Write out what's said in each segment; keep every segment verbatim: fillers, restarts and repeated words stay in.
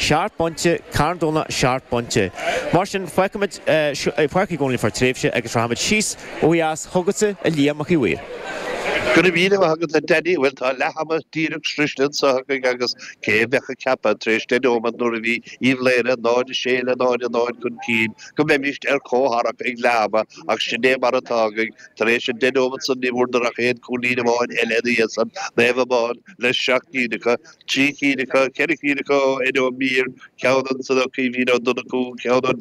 Seacht bpointe, Carn Domhnach seacht bpointe. Mar sin, fágfaimid Páirc Uí Chonaill fá tréimhse agus rachaimid síos ó dheas chugatsa, a Liam Mac Uí Mhaoir. Go raibh míle maith agat, a Danny. Bhuel, tá leath ama díreach sroiste anseo againn agus cé a bheadh ag ceapadh tar éis deich nóiméad nuair a bhí Uíbh Laoghaire náid a sé le náid a náid chun cinn go mbeimis ar comhtharrac ag leath ama ach sin é mar atá againn. Tar éis an deich nóiméad san ní bhfuaireadar ach aon chúilín amháin eile ina dhiaidh san, Naomh Abán le seacht gcinn acu, trí cinn acu, ceithre cinn acu ó Eddie Ó Mír, ceann ansan ó Caoimhín Ó Donnchú, ceann ó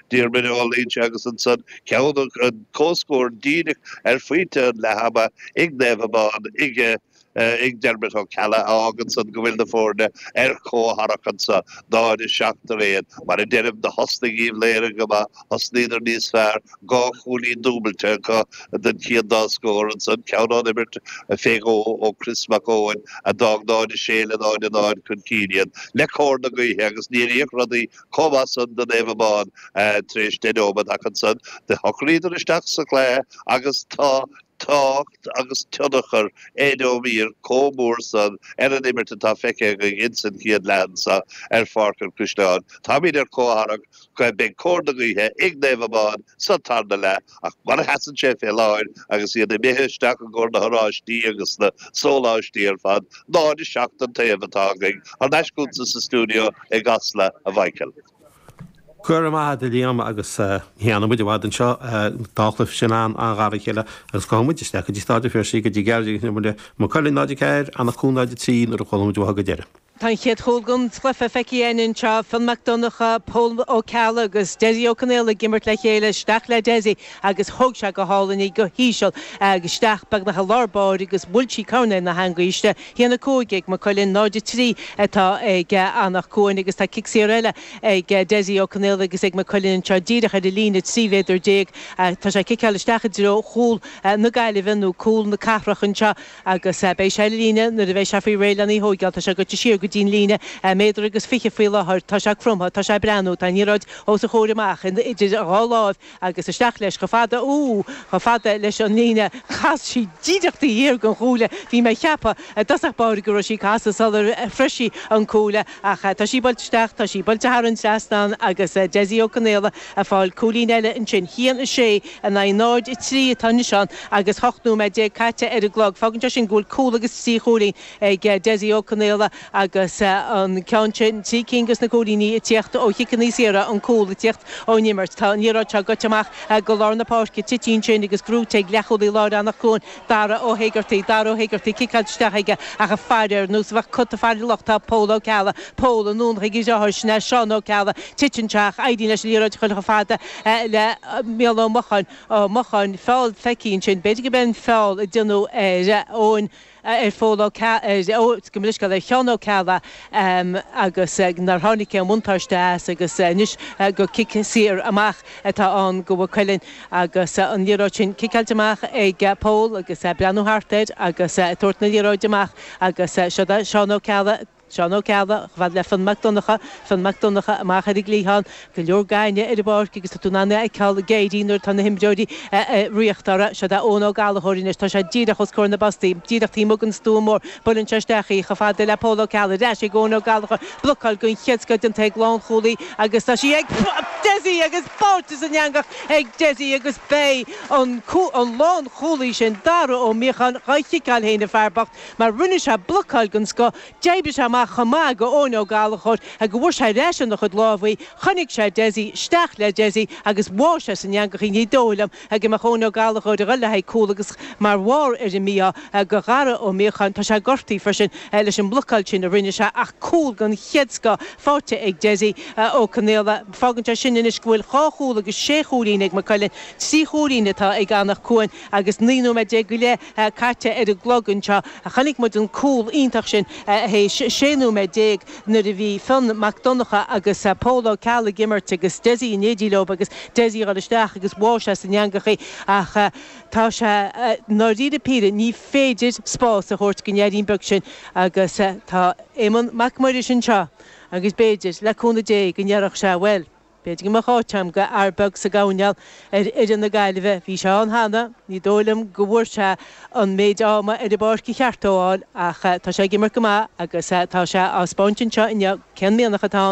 Diarmuid Ó Loingsigh agus ansan ceann an comhscór díreach ar phointe an leath ama ag Naomh Abán ag ag Dermot Ó Ceallaigh a fhágann san go bhfuil na foirne ar comhtharrac anseo, náid a seacht ar aon. Mar a deirim, do thosnaigh Uíbh Laoghaire go maith, thosnaíodar níos fearr, dhá chúilín dúbailte acu den chéad dá scór ansan, ceann ón imirt fé dhó ó Chris Mac Eoin a d'fhág náid a sé le náid a náid chun cinn iad le cóir na gaoithe agus níor fhéach rudaí chomh maith san do Naomh Abán tar éis deich nóiméad ach ansan do shocraíodar isteach sa chluiche agus tá tábhacht agus tionchar Eddie Ó Mír chomh mór san ar an imirt atá feicthe againn ins an chéad leath anseo ar Pháirc an Chaisleáin. Táimid ar comhtharrac go mbeidh cóir na gaoithe ag Naomh Abán sa tarna leath ach mar a sheasann sé fé láthair agus iad imithe isteach i gcomhair na horáistí agus na sóláistí ar fad, náid a seacht an taobh atá againn. Thar n-ais chugatsa sa stiúideo i gCasla, a Mhichael. Go raibh maith agat, a Liam, agus ní fhanfaidh muid i bhfad anseo, dá chluiche sin an-ghar dá chéile agus gabhfaidh muid isteach go dtí Staid an Phiarsaigh go dtí Gearóid Ó Maigh Cuilinn náid a ceathair, Anach Cuain náid a trí nuair a chuala muid uathu go deireadh. Tá an chéad chúl den chluiche feicthe againn anseo, Fionn Mac Donncha, Pól Ó Ceallaigh agus Dessie Ó Conaola ag imirt le chéile, isteach le Dessie agus thóg sé go hálainn í go híseal agus isteach beagnach i lár báire agus bhuail sí coirnéal na heangaí istigh. Haon a cúig ag Maigh Cuilinn, náid a trí atá ag Anach Cuain agus tá cic saor eile ag Dessie Ó Conaola agus ag Maigh Cuilinn anseo díreach ar an líne trí mhéadar déag. Tá sé ag ciceáil isteach i dtreo chúl na Gaillimhe nó cúl na cathrach anseo agus beidh sé ar an líne nuair a bheidh sé faoi réir lena thóigeáil. Tá sé goite siar go dtí an líne méadar agus fiche faoi láthair. Tá sé cromtha, tá sé ag breathnú, tá an liathróid os a chomhair amach idir a dhá láimh agus isteach leis chomh fada, ú, chomh fada leis an líne. Chas sí díreach taobh thiar den chuaille. Bhí mé ag ceapadh i dtosach báire go raibh sí ag casadh sular shroich sí an cuaille ach tá sí buailte isteach, tá sí buailte thar an trasnán agus Dessie Ó Conaola ag fáil cúilín eile ansin. Haon a sé in aghaidh náid a trí atá anois ann agus ocht nóiméad déag caite ar an gclog. Fágann sé sin go bhfuil cúl agus trí chúilín ag Dessie Ó Conaola agus an ceann sin, trí cinn de na cúilíní ag tíocht ó chiceanna saora, an cúl ag tíocht ón imirt. Tá an liathróid seo goite amach go lár na páirce, tite ansin agus gnóite ag leathchúlaí láir Anach Cuain, Dara Ó hÉigeartaigh. Dara Ó Héigeartaigh, ciceáilte isteach aige ach ag faire ar nós a bheadh cat ag faire luch tá Pól Ó Ceallaigh. Pól anonn chuig a dheartháir, sin é Seán Ó Ceallaigh. Titeann sé ach éiríonn leis an liathróid a chur chomh fada le Mícheál Ó Mocháin. Ó Mocháin, feall feicthe ansin. B'fhéidir go b'é an feall a déanadh ar Eoin, ar Phól Ó ar, gabh mo leithscéal, ar Sheán Ó Ceallaigh agus nár tháinig aon bhuntáiste as agus anois gur cic saor amach atá ann do Mhaigh Cuilinn agus an liathróid sin ciceáilte amach ag Pól agus é ag breathnú thart air agus ag tabhairt na liathróide amach agus seo é Seán Ó Ceallaigh. Seán Ó Ceallaigh, chomh fada le Fionn Mac Donncha, Fionn Mac Donncha amach ar an gcliathán, go leor gainne ar an bpáirc agus tá tú in ann é a fheiceáil ag éirí nuair atá na himreoirí ag ritheacht orthu. Seo é Eoin Ó Gallchóir anois, tá sé díreach os comhair na bpostaí, díreach taobh amuigh den stua mór, buaileann sé isteach í chomh fada le Pól Ó Ceallaigh, ar ais ag Eoin Ó Gallchóir, blocáil den chéad scoth déanta ag lánchúlaí agus tá sí ag Dessie agus báite san eangach ag Dessie agus beidh an lánchúlaí sin, Dara Ó Míocháin, dhá chiceáil féin an fear bocht mar rinne sé blocáil den scoth. D'oibrigh sé amach chomh maith go Eoin Ó Gallchóir go bhfuair sé ar ais ina chuid lámh í, chonaic sé Dessie, isteach le Dessie agus bháigh sé san eangach í. Ní dóigh liom go mbeadh Eoin Ó Gallchóir ag dul le haghaidh cúl agus mar bharr ar an mí-ádh go Dhara Ó Míocháin, tá sé gortaithe freisin leis an mblocáil sin a rinne sé ach cúl den chéad scoth faighte ag Dessie Ó Conaola. Fágann sé sin anois go bhfuil dhá chúl agus sé chúilín ag Maigh Cuilinn, trí chúilín atá ag Anach Cuain agus naoi nóiméad déag go leith caite ar an gclog anseo. Chonaic muid an cúl iontach sin théis sé nóiméad déag nuair a bhí Fionn Mac Donncha agus Pól Ó Ceallaigh ag imirt agus Dessie in éindí leo agus Dessie a dhul isteach agus bháigh sé san eangach í ach tá sé ndáiríre píre ní féidir spás a thabhairt don fheairín beag sin agus tá Éamonn Mac Muiris anseo agus b'fhéidir, le cúnamh Dé, go ndéarfadh sé bhuel, B'fhéidir go mbeadh áit agam go fhear beag sa gcoirnéal ar fhoireann na Gaillimhe. Bhí sé ann cheana, ní dóigh liom go bhfuair sé an méid ama ar an bpáirc a cheart dó a fháil ach tá sé ag imirt go maith agus tá sé á 'speáint anseo inniu cén mianach atá ann.